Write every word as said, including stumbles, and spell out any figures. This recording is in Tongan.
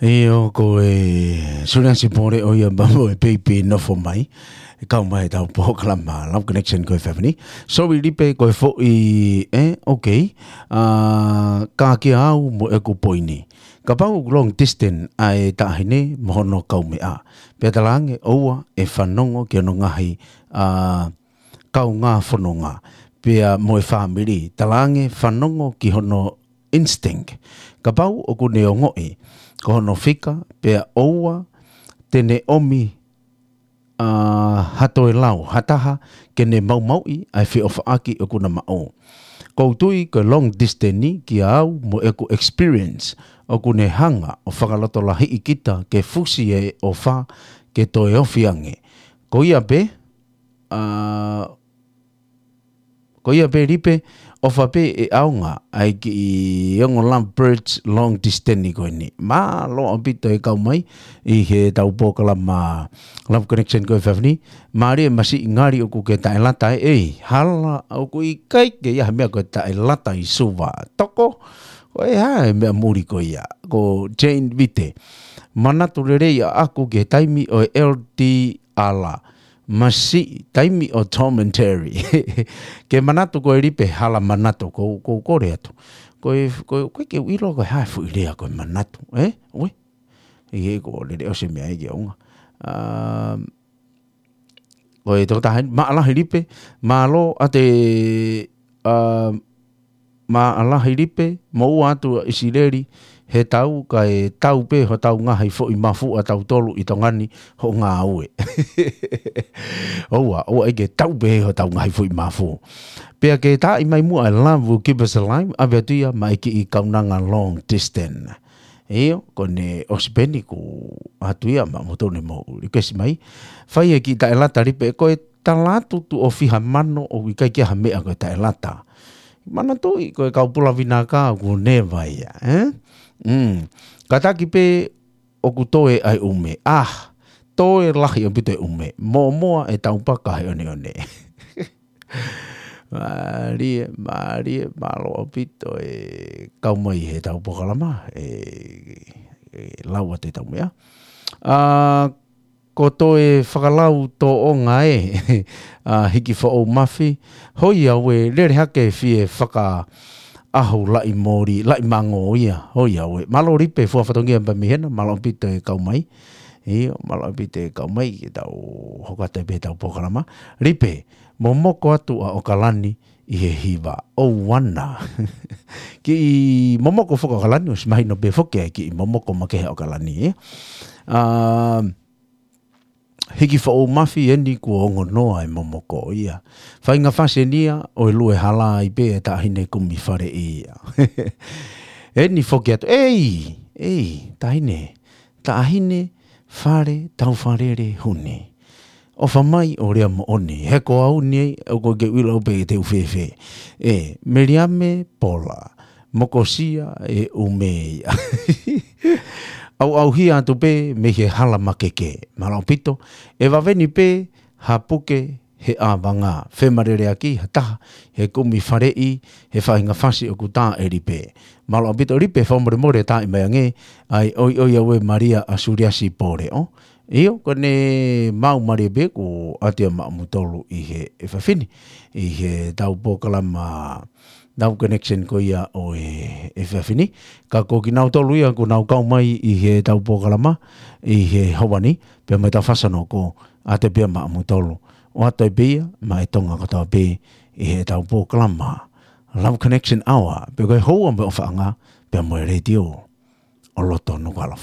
ʻIo, ko e Suliasi Pole ʻo ia pea mo e Peipi Nofo Mai, ʻe kau mai ʻetau polokalama Love Connection ko e fefine. Sorry Lipe, ko e foʻi, ē, okay. ʻA, ka kia au mo ʻeku poini. Kapau long distance ʻa e taʻahine mo hono kaumeʻa, pea talaange ʻoua ʻe fanongo ki hono ngaahi, ʻa, kaungā fononga, pea mo e fāmili, talaange fanongo ki hono instinct. Kapau ʻoku ne ongoʻi ko hono fika, pea ʻoua te ne ʻomi, ʻa, ha toe lau ha taha ke ne maumauʻi ʻa e feʻofaʻaki ʻoku na maʻu. ʻOku ou tui ko e long distance ni kia au mo ʻeku experience, ʻoku ne hanga ʻo fakalotolahiʻi kita ke fusi e ʻofa ke toe ofi ange. Ko ia pē, ʻa, ko ia pē Lipe, ʻofa pē ʻe ʻaonga ʻa e kiʻi ongo love birds long distance ni ko eni. Mālō ʻaupito e kau mai ʻi heʻetau polokalama Love Connection ko e fefine. Mālie, masiʻi ngali ʻoku ke taʻelata ē, ʻei, hala, ʻoku ʻikai ke ʻi ai ha meʻa ko e taʻelata ʻi Suva. Toko, ko e hā e meʻa muli ko ia, ko Jane Vite. Manatu lelei ʻaʻaku ki he taimi ʻo e L D R. Masiʻi, taimi ʻo Tom and Jerry. Ke manatu ko e Lipe, hala manatu, ko, ko, ko le atu. Ko e, ko, ko e ke u ʻilo ko e hā e foʻi lea ko e manatu, ē? Ue? ʻIo, ko lele ʻosi e meʻa ia ke ʻaonga. Um, ko e tokotaha eni, maʻalahi Lipe, mālō ʻa te, um, maʻalahi Lipe, mou ʻoatu ʻa ʻIsileli he tau, kae tau pē hotau ngaahi foʻi mafu ʻa tautolu ʻi Tonga ni hoʻo ngāue. ʻOua, ʻoua ʻe ke tau pē hotau ngaahi foʻi mafu. Pea ke taaʻi mai muʻa e Love Will Keep Us Alive, ʻave atu ia maʻa e kiʻi kaunanga long distance. ʻIo, ko ʻene ʻosi pē eni kuo ʻoatu ia maʻamoutolu ne mou request mai. Fai e kiʻi taʻelata Lipe, ko e tala atu tuʻo fiha mano ʻoku ʻikai ke ʻi ai ha meʻa ko e taʻelata. Manatuʻi ko e kau pula vinaka ʻoku neva ia, ē? Mm. Kātaki pē ʻoku toe ʻa e ʻume. Ah, toe lahi ʻaupito e ʻume. Mōmoa e taupaka he ʻoneʻone. Mālie, mālie, mālō ʻaupito e kau mai heʻetau polokalama, e, e lau atu ʻetau meʻa. ʻA, ko toe fakalau tōʻonga ē, ʻa, Hiki Foʻou Mafi, hoi au ē, lele hake fie fakaʻahu laʻi moli, laʻi mango ia, hoi au ē. Mālō Lipe, fua fatongia pē mei hena, mālō ʻaupito e kau mai. ʻIo, mālō ʻaupito e kau mai, ke tau hoko atu pē heʻetau polokalama. Lipe, momoko atu ʻa ʻOkalani ʻi he hiva. ʻOuana. Kiʻi momoko foki ʻOkalani, ʻosi mahino pē foki ʻa e kiʻi momoko makehe ʻa ʻOkalani, ē? ʻA, Hiki Foʻou Mafi eni kuo ongo noa e momoko ia. Faʻahinga fasi eni ia ʻo e lue hala ai pē e taʻahine kumi faleʻi ia. Eni foki atu, ʻei, ʻei, taʻahine, taʻahine fale taufalele huni. ʻOfa mai ʻo lea moʻoni, he ko au ni ʻoku ke ʻilo pē te u fēfē. ʻE, Meliame Pola, mokosia e ʻume ia. ʻAuʻauhia atu pē mei he hala makeke. Mālō ʻaupito, ʻe vave ni pē ha puke he ʻavanga. Femaleleʻaki ha taha he kumi faleʻi, he faʻahinga fasi ʻoku tā ʻe Lipe. Mālō ʻaupito Lipe, fakamolemole taaʻi mai ange ʻa e ʻoiʻoi au ē Malia ʻa Suliasi Pole ʻo. ʻIo, ko ʻene maau mālie pē kuo ʻoatu ia maʻamoutolu ʻi he efiafi ni, ʻi heʻetau polokalama Love Connection ko ia ʻo e efiafi ni. Ka ko kinautolu ia kuo nau kau mai ʻi heʻetau polokalama ʻi he houa ni, pea mo ʻetau fasanoko, ʻoatu pē ia maʻamoutolu. ʻOatu pē ia maʻa e Tonga kotoa pē ʻi heʻetau polokalama Love Connection Hour, pea ko e houa mo e ʻofaʻanga, pea mo e letiō ʻo loto Nukuʻalofa.